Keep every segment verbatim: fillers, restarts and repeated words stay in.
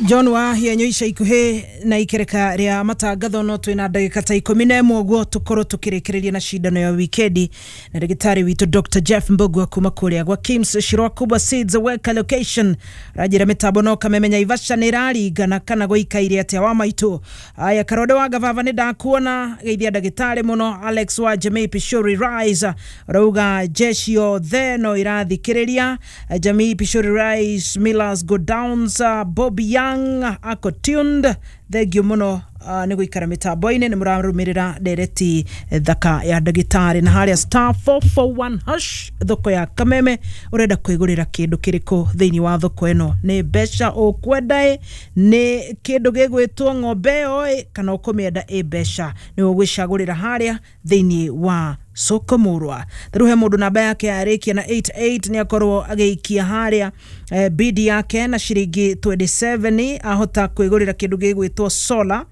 John wa hienyo ica ikuhĩ na ikereka rĩa matangatho no twĩna ndagĩka ta ikũmi na ĩmwe ũguo tũkorwo tũkĩrĩkĩrĩria na cindano ya wikendi na ndagĩtarĩ witũ Doctor Jeff Mbugua kuma kũrĩa gwa Kims Shirwa Kubwa Seeds Work Location. Ranjĩra mĩtambo no kamemenya Ivasha nĩ ĩraringana kana gũikaire atĩa wa maitũ. Aya Karode wa Gavava nĩ ndakuona, geithia ndagĩtarĩ mũno. Alex wa Jamii Pishori Rise rauga jeshi yothe no irathikĩrĩria. Jamii Pishori Rise Millers Go Downs, Bobby Young ako tuned, thengio mũno uh, nĩ gũikara mĩtambo-inĩ nĩ mũrarũmĩrĩra ndereti thaka ya ndagĩtarĩ. Na harĩa star four four one hash thoko ya Kameme, ũrenda kwĩgũrĩra kĩndũ kĩrĩkũ thĩinĩ wa thoko ĩno? Nĩ mbeca ũkwenda ĩ, nĩ kĩndũ gĩgwĩtwo ng'ombe ĩyo ĩ, kana ũkũmĩenda ĩ mbeca? Nĩ ũgwĩcagũrĩra harĩa thĩinĩ wa soko murwa. Rĩu he mũndũ namba yake yarĩkia na eight eight nĩ akorwo agĩikia harĩa eh, bid yake na ciringi twenty seven, ahota kwĩgũrĩra kĩndũ gĩgwĩtwo solar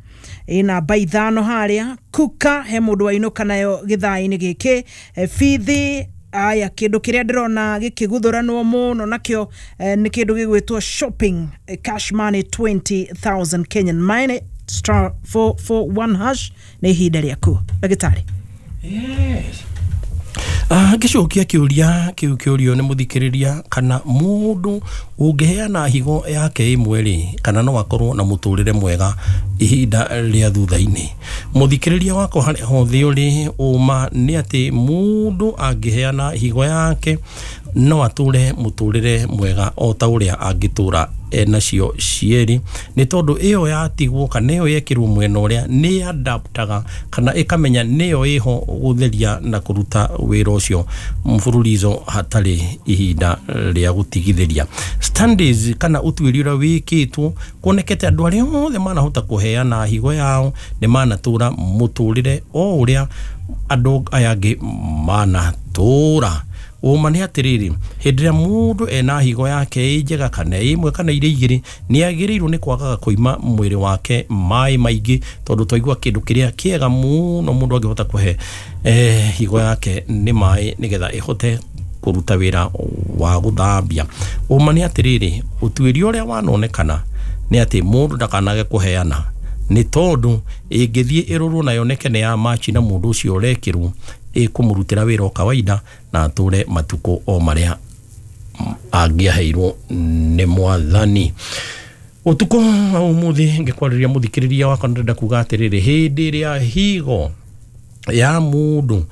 ina namba ithano harĩa. Kuka he mũndũ wainũka nayo gĩthaa-inĩ gĩkĩ. Bithi aya kĩndũ kĩrĩa ndĩrona gĩkĩguthũranwo mũno nakĩo eh, nĩ kĩndũ gĩgwĩtwo shopping, eh, cash money twenty thousand Kenyan money, star four four one hash nĩ ihinda rĩaku ndagĩtarĩ. Yes. Ah, ngĩcokia kĩũria kĩu kĩũrio nĩ mũthikĩrĩria kana mũndũ ũngĩheana higo yake ĩmwe rĩ, kana no akorwo na mũtũrĩre mwega ihinda rĩa thutha-inĩ. Mũthikĩrĩria wakwa harĩa hothe ũrĩ, ũma nĩ atĩ mũndũ angĩheana higo yake no atũre mũtũrĩre mwega o ta ũrĩa angĩtũra enacio cierĩ, nĩ tondũ ĩyo yatigwo kana ĩyo yekĩrwo mwena ũrĩa nĩ adaptaga kana ĩkamenya nĩyo ĩho gũtheria na kũruta wĩra ũcio mfululizo hatarĩ ihinda rĩa gũtigithĩria. Studies kana ũtuĩria ũrĩa wĩkĩtwo kuonekete andũ arĩa othe manahota kũheana higo yao nĩ manatũra mũtũrĩre o ũrĩa andũ aya angĩ manatũra. Ũma nĩ atĩrĩrĩ, hĩndĩ ĩrĩa mũndũ ena higo yake ĩ njega kana ĩmwe kana irĩ igĩrĩ, nĩ agĩrĩirwo nĩ kwagaga kũima mwĩrĩ wake maĩ maingĩ, tondũ twaigua kĩndũ kĩrĩa kĩega mũno mũndũ angĩhota kũhe eh, higo yake nĩ maĩ nĩgetha ĩhote kũruta wĩra wa gũthambia. Ũma nĩ atĩrĩrĩ, ũtuĩria ũrĩa wanonekana nĩ atĩ mũndũ ndakanage kũheana, nĩ tondũ ĩngĩthiĩ ĩrorwo na yoneke nĩ ya machi na mũndũ ũcio ũrekĩrwo, ĩkũmũrutĩra wĩra o kawaida na atũre matukũ o marĩa angĩaheirwo nĩ mwathani. Ũtukũ wa ũmũthĩ ngĩkwarĩria mũthikĩrĩria wakwa ndĩrenda kuga atĩrĩrĩ, hĩndĩ ĩrĩa higo ya mũndũ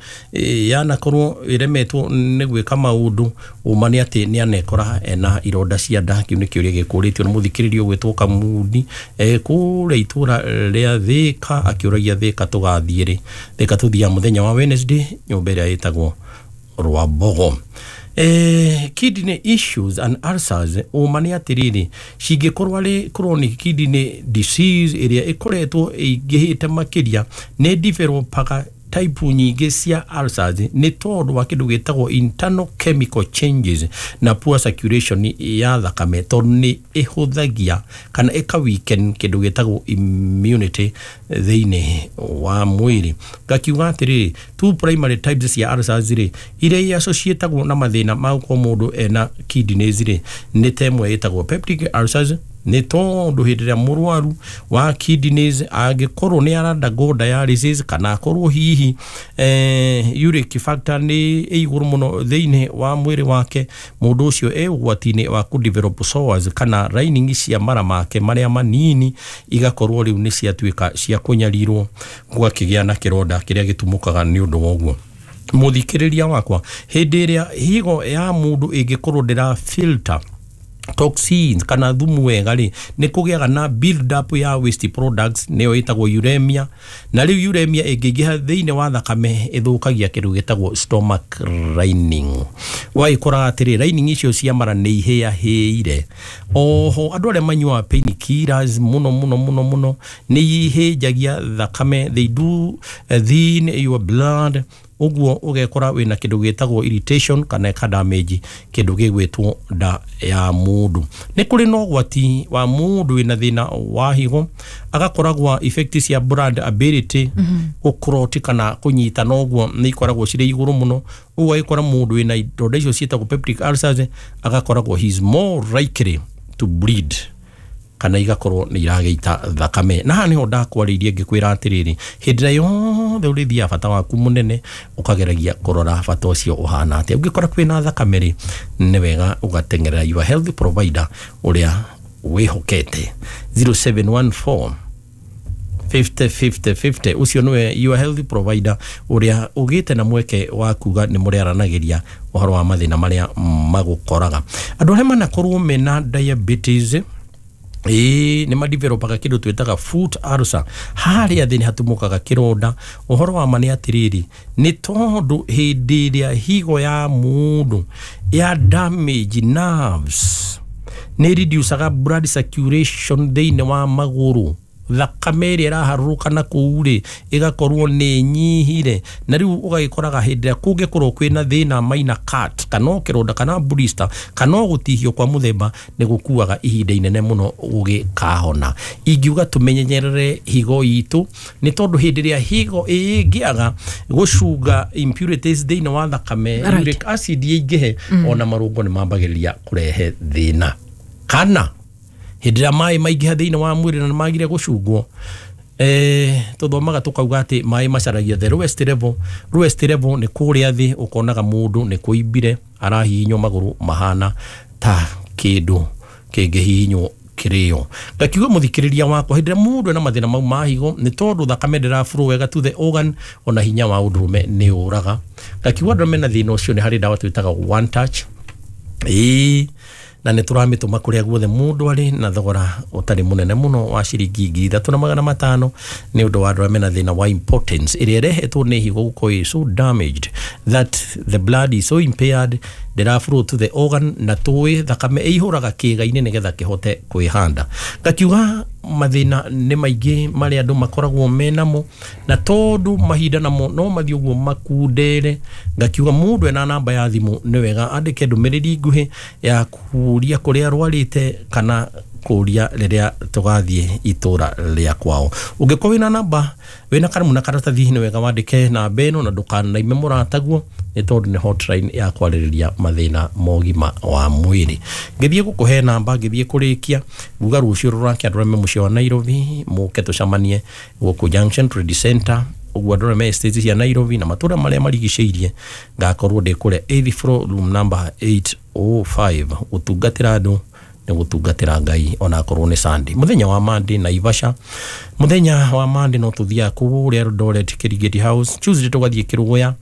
yanakorwo ĩremetwo nĩ gwĩka maũndũ, ũma nĩ atĩ nĩ anekora ena ironda cia nda. Kĩu nĩ kĩũria gĩkũrĩtio nĩ mũthikĩrĩria ũgwĩtwo Kamundi kũrĩa itũra rĩa Thĩka, akĩũragia Thĩka tũgathiĩ rĩ. Thĩka tũthiaga mũthenya wa Wednesday nyũmba ĩrĩa ĩtagwo Rwambogo. Eh, kidney issues and ulcers, ũma nĩ atĩrĩrĩ, cingĩkorwo arĩ chronic kidney disease ĩrĩa ĩkoretwo ĩingĩhĩte makĩria, nĩ developaga type nyingĩ cia ulcers nĩ tondũ wa kĩndũ gĩtagwo internal chemical changes na poor circulation ya thakame, tondũ nĩ ĩhũthagia kana ĩka weaken kĩndũ gĩtagwo immunity thĩinĩ wa mwĩrĩ. Ngakiuga atĩrĩrĩ, two primary types cia ulcers rĩ, iria associatagwo na mathĩna ma gũkorwo mũndũ ena kidneys rĩ, nĩ ta ĩmwe ĩtagwo peptic ulcers, nĩ tondũ hĩndĩ ĩrĩa mũrwaru wa kidneys angĩkorwo nĩ ara undergo dialysis kana akorwo hihi eh, uric factor nĩ ĩ igũrũ mũno thĩinĩ wa mwĩrĩ wake, mũndũ ũcio e ũgwati-inĩ wa kũ develop sores kana lining cia mara make marĩa manini igakorwo rĩu nĩ ciatuĩka cia kũnyarirwo, gũgakĩgĩa na kĩronda kĩrĩa gĩtumũkaga nĩ ũndũ wa ũguo. Mũthikĩrĩria wakwa, hĩndĩ ĩrĩa higo ya mũndũ ĩngĩkorwo ndĩra filter toxins kana thumu wega rĩ, nĩ kũgĩaga na build up ya waste products, nĩyo ĩtagwo uremia. Na rĩu uremia ĩngĩingĩha thĩinĩ wa thakame ĩthũkagia kĩndũ gĩtagwo stomach lining. Wagĩkoraga atĩrĩ, lining icio cia mara nĩ ihĩahĩire. Oho andũ arĩa manyuaga painkillers mũno mũno mũno mũno nĩ ihĩnjagia thakame, they do thin your blood, ũguo ũgekora wĩna kĩndũ gĩtagwo irritation kana ĩka damage kĩndũ gĩgwĩtwo nda ya mũndũ. Nĩ kũrĩ na ũgwati wa mũndũ wĩna thĩna wa higo agakoragwo effect cia blood ability gũclot kana kũnyitana ũguo nĩ ikoragwo cirĩ igũrũ mũno, ũguo agĩkora mũndũ wĩna ironda icio ciĩtagwo peptic ulcers agakoragwo he is more likely to bleed. kana igakorwo nĩ iragĩita thakame. Na haha nĩho ndakwarĩirie ngĩkwĩra atĩrĩrĩ, hĩndĩ ĩrĩa yothe ũrĩthiaga bata waku mũnene ũkageragia kũrora bata ũcio ũhana atĩa. Ũngĩkora kwĩna thakame rĩ, nĩ wega ũgateng'erera your health provider ũrĩa wĩhokete. Zero seven one four fifty fifty fifty, ũcio nĩwe your health provider ũrĩa ũgĩte na mweke wa kuga nĩ mũrĩaranagĩria ũhoro wa mathĩna marĩa magũkoraga. Andũ arĩa manakorwo mena diabetes ĩĩ nĩ madevelopaga kĩndũ twĩtaga foot ulcer. Harĩa thĩ nĩ hatumũkaga kĩronda. Ũhoro wa ma nĩ atĩrĩrĩ, nĩ tondũ hĩndĩ ĩrĩa higo ya mũndũ ya damage nerves nĩ reducaga blood circulation thĩinĩ wa magũrũ, thakame ĩrĩa ĩraharũrũka na kũu rĩ ĩgakorwo nĩ ĩnyihire, na rĩu ũgagĩkoraga hĩndĩ ĩrĩa kũngĩkorwo kwĩna thĩna minor cut kana o kĩronda kana blister kana o gũtihio kwa mũthemba, nĩ gũkuaga ihinda inene mũno gũgĩkahona. Ingiuga tũmenyerere higo itũ, nĩ tondũ hĩndĩ ĩrĩa higo ĩngĩaga gũcunga impurities thĩinĩ wa thakame, Right. uric acid ĩingĩhe, ona marũngo nĩ mambagĩrĩria kũrehe thĩna. Kana hĩndĩ ĩrĩa maĩ maingĩha thĩinĩ wa mwĩrĩ na nĩmagire gũcungwo, eh, tũthomaga tũkauga atĩ maĩ macaragia the lowest level. Lowest level nĩ kũrĩa thĩ, ũkonaga mũndũ nĩ kũimbire arahihinywo magũrũ mahana ta kĩndũ kĩngĩhihinywo kĩrĩo. Ngakiuga mũthikĩrĩria wakwa, hĩndĩ ĩrĩa mũndũ ena mathĩna mau ma higo, nĩ tondũ thakame ndĩra flow wega to the organ, ona hinya wa ũndũrũme nĩ ũraga. Ngakiuga andũ arĩa mena thĩna ũcio nĩ harĩ ndawa twĩtaga one touch, ĩĩ, na nĩ tũramĩtũma kũrĩa guothe mũndũ arĩ na thogora ũtarĩ mũnene mũno wa ciringi ngiri ithatũ na magana matano, nĩ ũndũ wa andũ arĩa mena thĩna wa impotence ĩrĩa ĩrehetwo nĩ higo gũkorwo ĩ so damaged that the blood is so impaired ndĩra flow to the organ, na tũĩ thakame ĩihũraga kĩĩga-inĩ nĩgetha kĩhote kwĩhanda. Ngakiuga mathĩna nĩ maingĩ marĩa andũ makoragwo menamo, na tondũ mahinda namo no mathiĩ ũguo makundere, ngakiuga mũndũ ena namba ya thimũ nĩ wega andĩke ndũmĩrĩri nguhĩ ya kũria kũrĩa arwarĩte kana kũria rĩrĩa tũgathiĩ itũra rĩa kwao. Ũngĩkorwo wĩna namba, wĩna karamu na karatathi, nĩ wega wandĩke namba ĩno na ndũkanaime mũrataguo, nĩ tondũ nĩ hotline ya kwarĩrĩria mathĩna ma ũgima wa mwĩrĩ. Ngĩthiĩ gũkũhe namba, ngĩthiĩ kũrĩkia nguga rũciũ rũrake andũ arĩa me mũciĩ wa Nairobi mũke tũcemanie gũkũ Junction Trade Center, ũguo andũ arĩa me estate cia Nairobi na matũra marĩa marigicĩirie, ngakorwo ndĩ kũrĩa eighth floor room number eight oh five gũtungatĩra andũ nĩ gũtungatĩra Ngai onakorwo nĩ Sunday. Mũthenya wa Monday Naivasha, mũthenya wa Monday no tũthiaga kũrĩa Eldoret Kirigiti House, Tuesday tũgathiĩ Kĩrũgũya,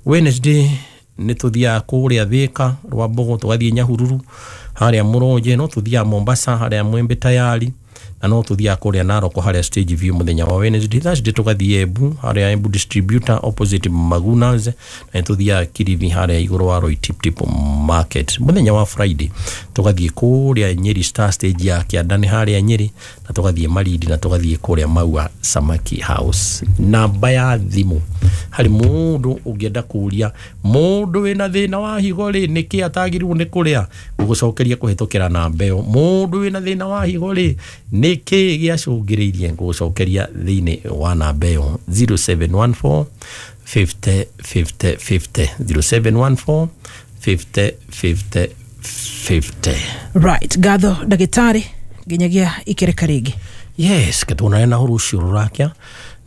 Wednesday nĩ tũthiaga kũrĩa Thika Rwambogo, tũgathiĩ Nyahururu harĩa Mũronje, no tũthiaga Mombasa harĩa Mwembe Tayari, na no tũthiaga kũrĩa Narok harĩa Stage View mũthenya wa Wednesday. Thursday tũgathiĩ Embu harĩa Embu Distributor opposite Magunas, na tũthiaga Kilifi harĩa igũrũ wa Roy Tip Tip Market. Mũthenya wa Friday tũgathiĩ kũrĩa Nyeri Star Stage ya Kĩandani harĩa Nyeri, na tũgathiĩ Malindi, na tũgathiĩ kũrĩa Maua Samaki House. Namba ya thimũ harĩ mũndũ ũngĩenda kũria mũndũ wĩna thĩna wa higo rĩ nĩkĩ atagĩrĩirwo nĩ kũrĩa, ngũgũcokeria kũhĩtũkĩra namba ĩyo. Mũndũ wĩna thĩna wa higo rĩ nĩkĩ gĩacũngĩrĩirie, ngũgũcokeria thĩinĩ wa namba ĩyo zero seven one four fifty fifty fifty, zero seven one four fifty fifty fifty. Right, ngatho ndagĩtarĩ, nginyagia ikereka rĩngĩ. Yes, ketuonane na rũciũ rũrakia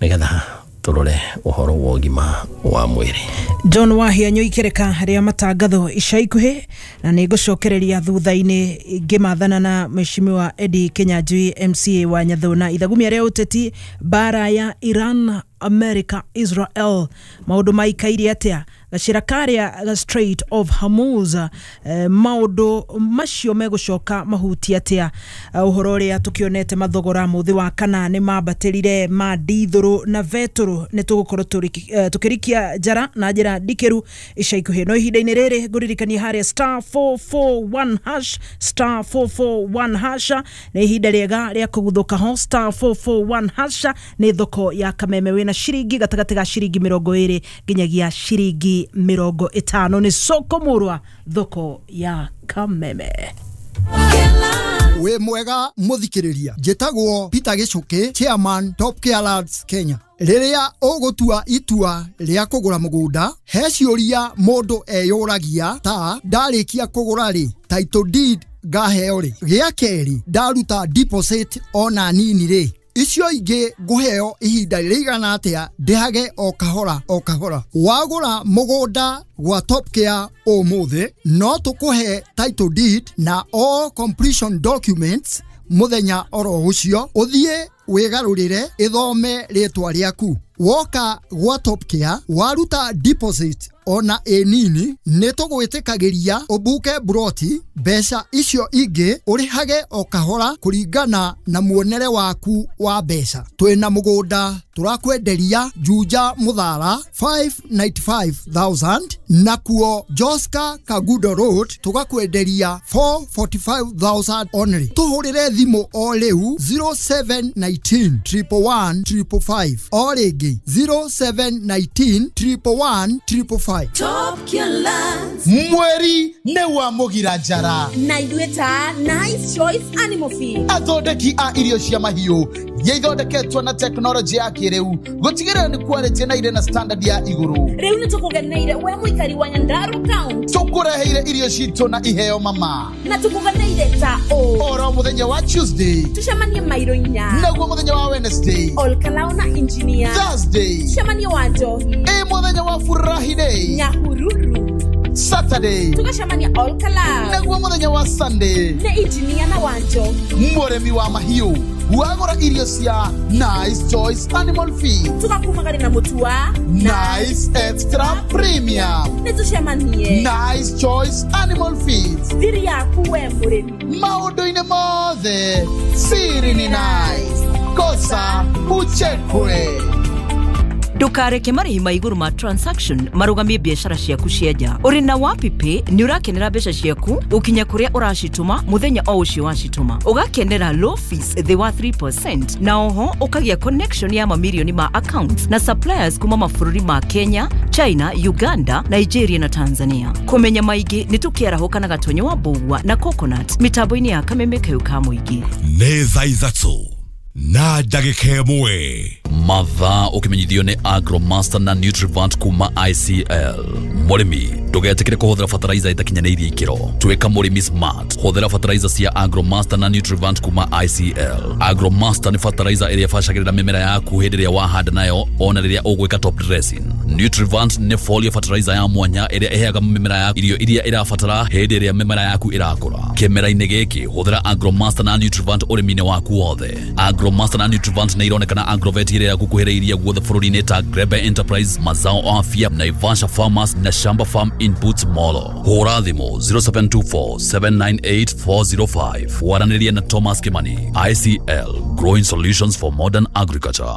nĩgetha tũrore ũhoro wa ũgima wa mwĩrĩ. John Wahianyo ikereka rĩa matangatho ica ikuhĩ, na nĩ ngũcokereria thutha-inĩ ngĩmathana na Mheshimiwa Eddie Kinyanjui M C A wa Nyathuna. Ithagumia rĩa ũteti, mbara ya Iran, America, Israel, maũndũ maikaire atĩa? Gacĩra karĩa ga Strait of Hormuz, eh, maũndũ macio megũcoka mahutie atĩa? Eh, ũhoro ũrĩa tũkĩonete mathogora mũthĩ wa kana nĩ mambatĩrire ma ndithũrũ na betũrũ, nĩ tũgũkorwo tũriki-, eh, tũkĩrikia njara na njĩra ndikĩru ica ikuhĩ. No ihinda-inĩ rĩrĩ ngũririkanie harĩa star four four one hash, star four four one hash nĩ ihinda rĩega rĩa kũguthũka ho. Star four four one hash nĩ thoko ya Kameme, wĩna ciringi gatagatĩ ga ciringi mĩrongo ĩrĩ nginyagia ciringi mĩrongo ĩtano. Nĩ soko mũrwa, thoko ya Kameme. Wĩ mwega mũthikĩrĩria, njĩtagwo Peter Gĩcũkĩ, chairman Top Care Lands Kenya. Rĩrĩa ũgũtua itua rĩa kũgũra mũgũnda, he ciũria mũndũ eyũragia ta ndarĩkia kũgũra rĩ, title deed ngaheo rĩ? Gĩa kerĩ, ndaruta deposit ona nini rĩ, icio ingĩ ngũheo ihinda rĩigana atĩa ndĩhage o kahora o kahora? Wagũra mũgũnda gwa Top Care ũmũthĩ, no tũkũhe title deed na all completion documents mũthenya oro ũcio, ũthiĩ wĩgarũrĩre ĩthome rĩtwa rĩaku. Woka gwa Top Care waruta deposit ona ĩ nini, nĩ tũgwĩtĩkagĩria ũbuke buroti, mbeca icio ingĩ ũrĩhage o kahora kũringana na muonere waku wa mbeca. Twĩna mũgũnda tũrakwenderia Juja Muthara five ninety-five thousand, nakuo Joska Kagudo Road tũgakwenderia four forty-five thousand only. Tũhũrĩre thimũ o rĩu zero seven nineteen triple one triple five, o rĩngĩ zero seven nineteen triple one triple five. Top Care Lands. Mweri nĩ wa mũgira njara na ithuĩ ta Nice Choice Animal Feed, athondeki a irio cia mahiũ iria ithondeketwo na tekinoronjĩ ya kĩrĩu gũtigĩrĩra nĩ quality na irĩ na standard ya igũrũ. Rĩu nĩ tũkũgeneire we mũikari wa Nyandarua County, tũkũreheire irio citũ na iheo mama, na tũkũgeneire ta ũ oro mũthenya wa Tuesday tũcemanie mairo inya, naguo mũthenya wa Wednesday Olkalou na engineer, Thursday tũcemanie wa Njohi, ĩ mũthenya wa Furahi Day Nyahururu, Saturday tũgacemania Olkalou, naguo mũthenya wa Sunday nĩ engineer na wa Njohi, mũrĩmi wa mahiũ wagũra irio cia Nice Choice Animal Feed tũgakumagari na mũtu wa Nice Extra Premium, nĩ tũcemanie Nice Choice Animal Feed, thiri yaku we mũrĩmi maũndũ-inĩ mothe siri ni nice, kosa uchekwe. Ndukareke marĩhi ma igũrũ ma transaction marũgamie biacara ciaku cia nja. Ũrĩ na WapiPay nĩ ũrakenera mbeca ciaku ũkinya kũrĩa ũracitũma mũthenya o ũcio wacitũma, ũgakenera low fees thĩ wa three percent, na oho ũkagĩa connection ya mamirioni ma accounts na suppliers kuma mabũrũri ma Kenya, China, Uganda, Nigeria na Tanzania. Kũmenya maingĩ nĩ tũkĩarahũka na Gatonyo wa Mbũgua na Coconut mĩtambo-inĩ ya Kameme Kayũ ka Mũingĩ. Nĩ thaa ithatũ na ndagĩka ĩmwe. Mathaa ũkĩmenyithio nĩ Agromaster na Nutrivant kuma I C L. Mũrĩmi ndũgetĩkĩre kũhũthĩra fertilizer ĩtakinyanĩirie ikĩro. Tuĩka mũrĩmi smart, hũthĩra fertilizer cia Agromaster na Nutrivant kuma I C L. Agromaster nĩ fertilizer ĩrĩa ĩbacagĩrĩra mĩmera yaku hĩndĩ ĩrĩa wahanda nayo ona rĩrĩa ũgwĩka top dressing. Nutrivant nĩ foliar fertilizer ya mwanya ĩrĩa ĩheaga mĩmera yaku irio iria ĩrabatara hĩndĩ ĩrĩa mĩmera yaku ĩrakũra. Kĩmera-inĩ gĩkĩ hũthĩra Agromaster na Nutrivant ũrĩmi-inĩ waku wothe. Agromaster na Nutrivant nĩ ironekana Agrovet ĩrĩa gũkuhĩrĩirie guothe bũrũri-inĩ ta Grebe Enterprise, Mazao Afya, Naivasha Farmers na Shamba Farm Inputs Molo. Hũra thimũ zero seven two four seven nine eight four zero five. Waranĩria na Thomas Kimani. I C L, Growing Solutions for Modern Agriculture.